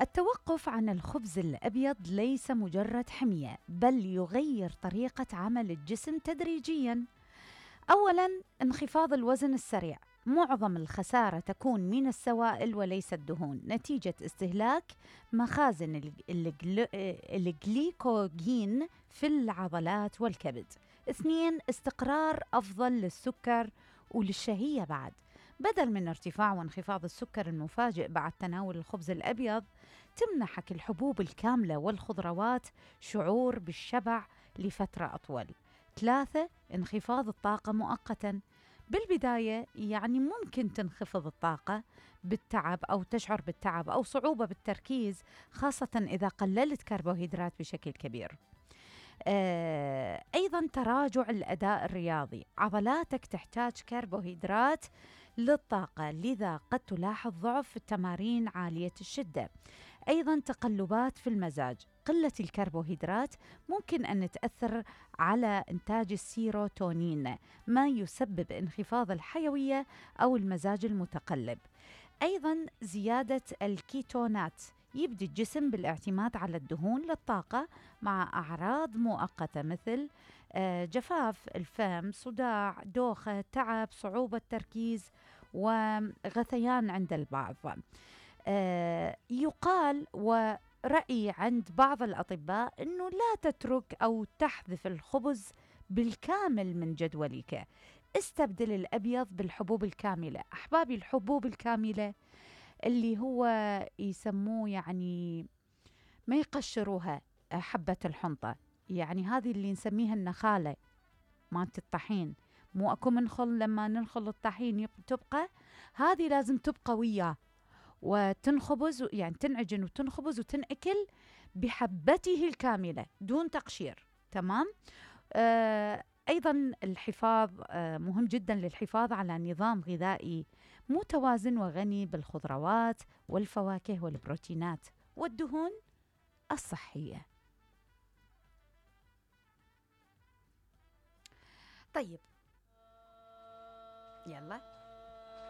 التوقف عن الخبز الأبيض ليس مجرد حمية، بل يغير طريقة عمل الجسم تدريجياً. أولاً، انخفاض الوزن السريع. معظم الخسارة تكون من السوائل وليس الدهون، نتيجة استهلاك مخازن الجليكوجين في العضلات والكبد. 2. استقرار أفضل للسكر وللشهية بعد. بدل من ارتفاع وانخفاض السكر المفاجئ بعد تناول الخبز الأبيض، تمنحك الحبوب الكاملة والخضروات شعور بالشبع لفترة أطول. 3. انخفاض الطاقة مؤقتاً. بالبداية يعني ممكن تنخفض الطاقة بالتعب أو تشعر بالتعب أو صعوبة بالتركيز، خاصة إذا قللت كربوهيدرات بشكل كبير. أيضاً تراجع الأداء الرياضي. عضلاتك تحتاج كربوهيدرات للطاقة، لذا قد تلاحظ ضعف في التمارين عالية الشدة. أيضاً تقلبات في المزاج. قلة الكربوهيدرات ممكن أن تأثر على إنتاج السيروتونين، ما يسبب انخفاض الحيوية أو المزاج المتقلب. أيضاً زيادة الكيتونات. يبدأ الجسم بالاعتماد على الدهون للطاقة مع أعراض مؤقتة مثل جفاف الفم، صداع، دوخة، تعب، صعوبة تركيز وغثيان عند البعض. يقال ورأي عند بعض الأطباء أنه لا تترك أو تحذف الخبز بالكامل من جدولك. استبدل الأبيض بالحبوب الكاملة. أحبابي، الحبوب الكاملة اللي هو يسموه يعني ما يقشروها حبة الحنطة، يعني هذه اللي نسميها النخالة مالت الطحين. مو أكو منخل لما ننخل الطحين تبقى، هذه لازم تبقى وياه وتنخبز، يعني تنعجن وتنخبز وتنأكل بحبته الكاملة دون تقشير. تمام. أيضا الحفاظ مهم جدا للحفاظ على نظام غذائي متوازن وغني بالخضروات والفواكه والبروتينات والدهون الصحية. طيب، يلا